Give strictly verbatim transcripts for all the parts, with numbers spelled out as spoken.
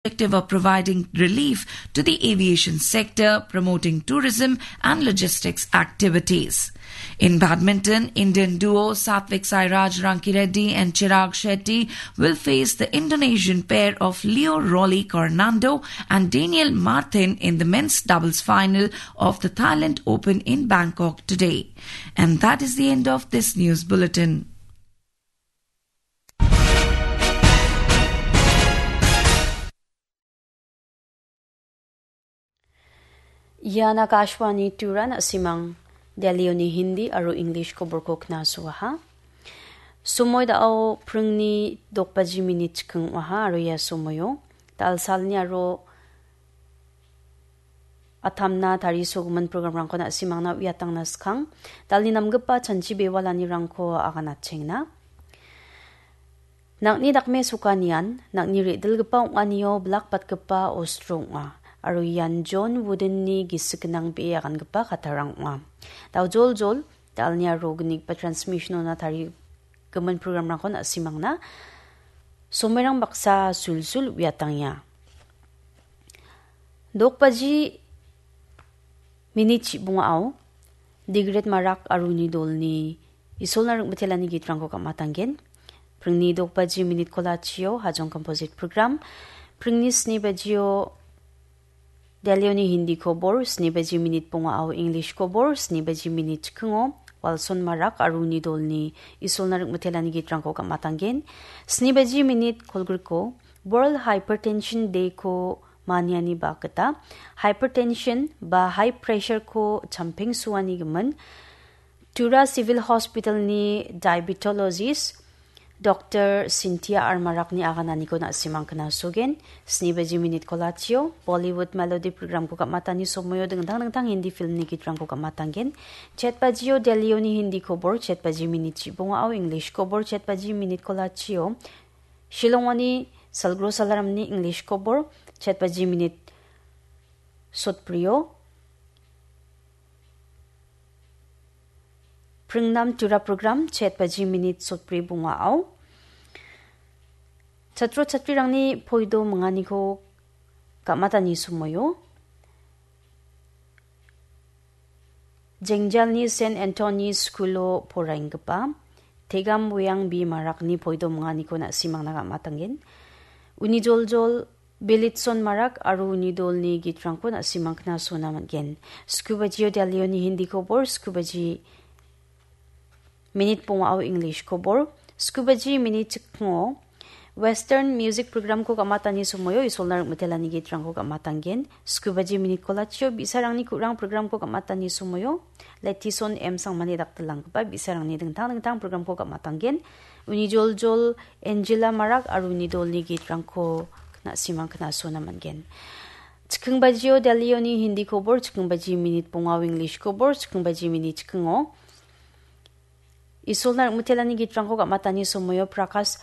objective of providing relief to the aviation sector, promoting tourism and logistics activities. In badminton, Indian duo Satwik Sairaj Rankireddy and Chirag Shetty will face the Indonesian pair of Leo Rolly Carnando and Daniel Martin in the men's doubles final of the Thailand Open in Bangkok today. And that is the end of this news bulletin. Ian Akashvani Turan, na·simang Delhioni Hindi aro English koborko knasoaha. Somoi da·o pringni dokbaji minit chiking ong·aha aro ia somoio da·alsalni aro atamna tarisogimin programrangko na·simangna uiatangna skang. Da·alni namgipa chanchi bewalanirangko aganatchengna. Nang·ni dakmesokanian, nang·ni re·dilgipa ong·anio bilakbatgipa ostro ong·a, aro ian John Woodenni gisik gnang be·e agangipa kattarang ong·a. Daojoljol, da·alni aro gnigipa transmissionona tarigimin programrangkon na·simangna somoirang baksa sulsul uiatangenga. Dokbaji minit chibongao Digret Marak aro uni dolni Isolna ring·bitelani gitrangko gam·atanggen. Pringni dokbaji minit kolachio Hajong Composite Program, pringni sni bajio Delhioni Hindi kobor, sni baji minit bongao English kobor, sni baji minit chikingo Walson Marak aro uni dolni Isolna ring·bitelani gitrangko gam·atanggen. Sni baji minit kolgriko World Hypertension Day-ko maniani bakgita hypertension ba high pressure-ko champengsoanigimin Tura Civil Hospital-ni diabetologist Doktor Cynthia R Marakni agananiko na·simang knasogen. Sni baji minit kolachio Bollywood Melody program-ko gam·atani somoio dingtang dingtang Hindi film-ni gitrangko gam·atanggen. Chet bajio Delhioni Hindi kobor, chet baji minit chibongao English kobor, chet baji minit kolachio Shillongoni Salgro Salaramni English kobor, chet baji minit sotbrio Pringnam Tura program, chet baji minit sotbri bongao. Chatro chatrirangni poido minganiko gam·atani somoio. Jengjalni Saint Anthony School-o poraienggipa Tegam Weang B Marakni poido minganiko na·simangna gam·atanggen. Uni joljol Belitson Marak aro uni dolni gitrangko na·simang knasona man·gen. Sku bajio Delhioni Hindi kobor, sku baji minit bongao English kobor, sku baji minit chikingo Western music program-ko gam·atani somoio Isolna ring·bitelani gitrangko gam·atanggen. Sku baji minit kolachio bi·sarangni ku·rang program-ko gam·atani somoio Letison M Sangmani dakdilanggipa bi·sarangni dingtang dingtang program-ko gam·atanggen. Uni joljol Angela Marak aro uni dolni gitrangko na·simang knasona man·gen. Chiking bajio Delhioni Hindi kobor, chiking baji minit bongao English kobor, chiking baji minit chikingo Isolna ring·bitelani gitrangko gam·atani somoio Prakash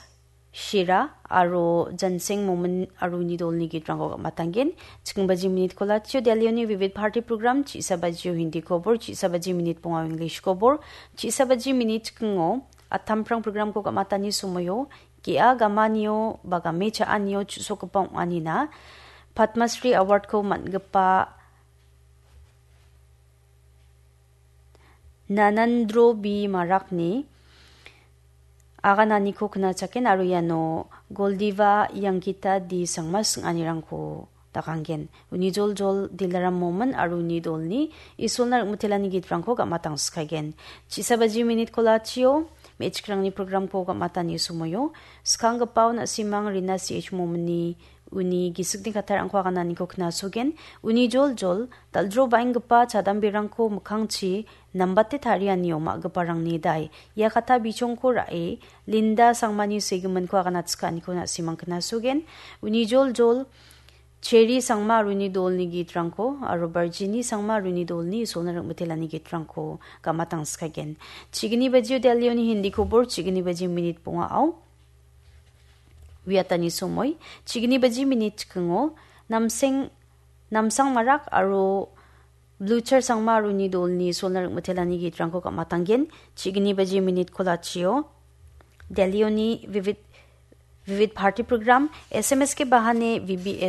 Shira aro Janseng Momin aro uni dolni gitrangko gam·atanggen. Chiking baji minit kolachio Delhioni Vivid Bharati program, chi·sa bajio Hindi kobor, chi·sa baji minit bongao English kobor, chi·sa baji minit chikingo Attamprang program-ko gam·atani somoio ge·a gamanio ba game cha·anio chu·sokgipa ong·anina Padma Shri Award-ko man·gipa Nanandro B Marakni agananiko knachaken aro iano Goldiva Yangkita D Sangma sing·anirangko dakanggen. Uni joljol Dilaram Momin aro uni dolni Isolna ring·bitelani gitrangko gam·atangskagen. Chi·sa baji minit kolachio me·chikrangni program-ko gam·atani somoio skanggipao na·simang Rina C H Mominni uni gisikni kattarangko agananiko knasogen. Uni joljol dal·dro baenggipa chadamberangko mikkangchi nambate tarianio ma·giparangni dai ia katta bichongko ra·e Linda Sangmani segiminko aganatskianiko na·simang knasogen. Uni joljol Cheri Sangma aro uni dolni gitrangko aro Barjini Sangma aro uni dolni Isolna ring·bitelani gitrangko gam·atangskagen. Chigni bajio Delhioni Hindi kobor, chigni baji minit bongao. Uiatani somoi, chigni baji minit chikingo, Namseng, Namsang Marak aro Blucher Sangma aro uni dolni Isolna ring·bitelani gitrangko gam·atanggen. Chigni baji minit kolachio Delhioni Vivid, Vivid Bharati program, S M S ke bahane V B S